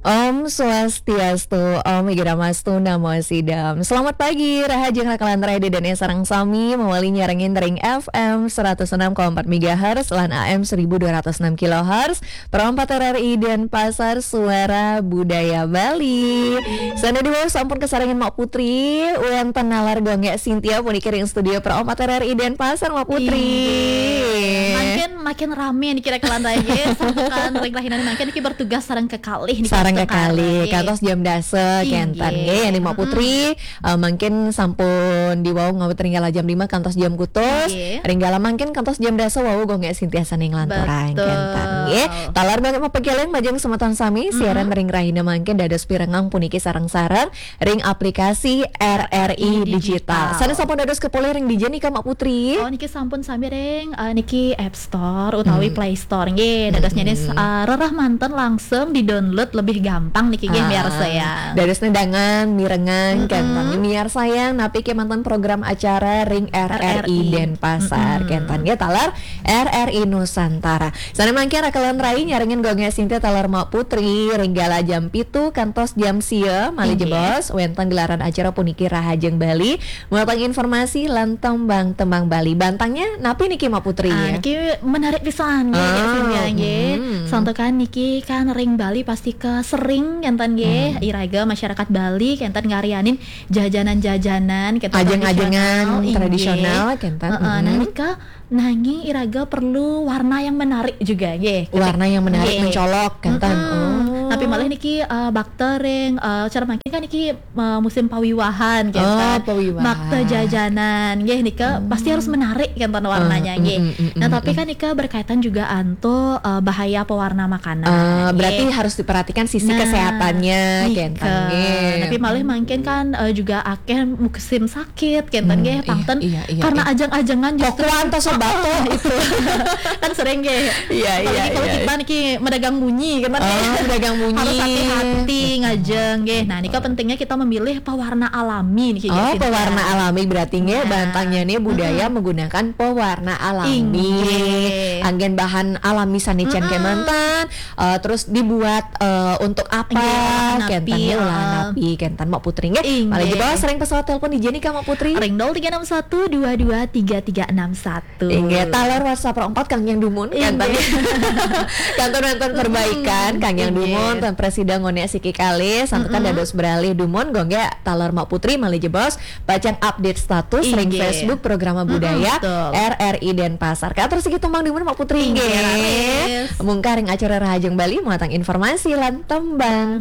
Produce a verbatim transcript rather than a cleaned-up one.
Om Swastiastu, Om Igramastu Namo Sidam. Selamat pagi, rahajeng rakalan Rede dan sareng sami mawali nyarengin ring F M seratus enam koma empat megahertz lan A M seribu dua ratus enam kilohertz, Pro empat R R I Denpasar, Suara Budaya Bali. Sane diwau sampun kasarengin Mak Putri, wenten nalar Gung Gek Sintia puniki ring studio Pro empat R R I Denpasar, Mak Putri. Inggih. Mangkin makin rame niki rakalan Rede, santukan ring rahinane mangkin niki bertugas sareng kekalih niki. Sareng kekalih, kantos jam dasa, inggih, kenten nggih. Yen Mak Putri, eh, mangkin sampun diwau ngawit ring kala jam lima kantos jam kutus. Inggih. Ring kala mangkin kantos jam dasa wau Gung Gek Sintia sane nglanturang, betul, kenten nggih. Taler banget mapageleng majeng semeton sami, siaran ring rahina mangkin dados pirengang puniki sareng-sareng ring aplikasi R R I Digital. Digital. Sane sampun dados kepolih ring dija nika, Mak Putri? Oh, niki sampun sami ring, eh, niki App Store utawi Play Store nggih. Dados nyanis, eh, rerah manten langsung di-download lebih gampang niki nggih, miarsa ya. Dados nedangan, mirengang, kenten. Miarsa yang napi kemanten program acara ring R R I Denpasar, kenten nggih, taler R R I Nusantara. Sane mangkin rakalan Rede nyarengin Gung Gek Sintia taler Mak Putri ring kala jam pitu kantos jam sia, malih jebos wenten gelaran acara puniki Rahajeng Bali, muatan informasi lan tembang-tembang Bali. Bantangnya napi niki, Mak Putri? Ah, niki menarik pisan nggih, Gung Gek Sintia nggih. Santukan niki kan ring Bali pasti ke sering kenten nggih. Iraga masyarakat Bali kenten ngaryanin jajanan-jajanan kenten, ajeng-ajengan tradisional, inggih, kenten. Heeh, nah, nika nanging iraga perlu warna yang menarik juga nggih. Warna yang menarik, nggih, mencolok kenten. Oh. Tapi malih niki, eh, bakta ring, eh, cara mangkin kan niki, eh, musim pawiwahan kenten. Oh, pawiwahan. Bakta jajanan nggih nika pasti harus menarik kenten warnanya nggih. Nah, tapi kan nika berkaitan juga antuk, eh, bahaya pewarna makanan. Eh, berarti harus diperhatikan sisi kesehatannya kenten nggih. Tapi malih mangkin kan, eh, juga akeh musim sakit kenten nggih, pangten iya, iya, karena ajeng-ajengan justru kokuan to sobat to. Itu kan sering nggih. Iya, iya, kalau kita niki medagang munyi kenten nggih. Oh, medagang munyi. Harus hati-hati ngajeng nggih. Nah, nika pentingnya kita memilih pewarna alami niki nggih. Oh, pewarna alami berarti nggih, bantangnya nih budaya menggunakan pewarna alami. Inggih. Anggen bahan alami sane cen kemanten, eh, terus dibuat, eh, untuk apa? Nggih, kenten nggih, olahan napi, Mak Putri nggih. Inggih. Malih jebos ring pesawat telepon dija nika, Mak Putri? Ring nol tiga enam satu dua dua tiga tiga enam satu. Inggih, taler WhatsApp empat kang yang dumun, inggih, kenten. Kantun wenten perbaikan kang yang dumun, ten presida ngone siki kali, santukan dados beralih dumun, Gung Gek taler Mak Putri malih jebos pacang update status ring Facebook Programa Budaya R R I Denpasar. Katur siki tumbang dumun, Mak Putri nggih. Mungkah ring acara Rahajeng Bali muatan informasi lan tembang.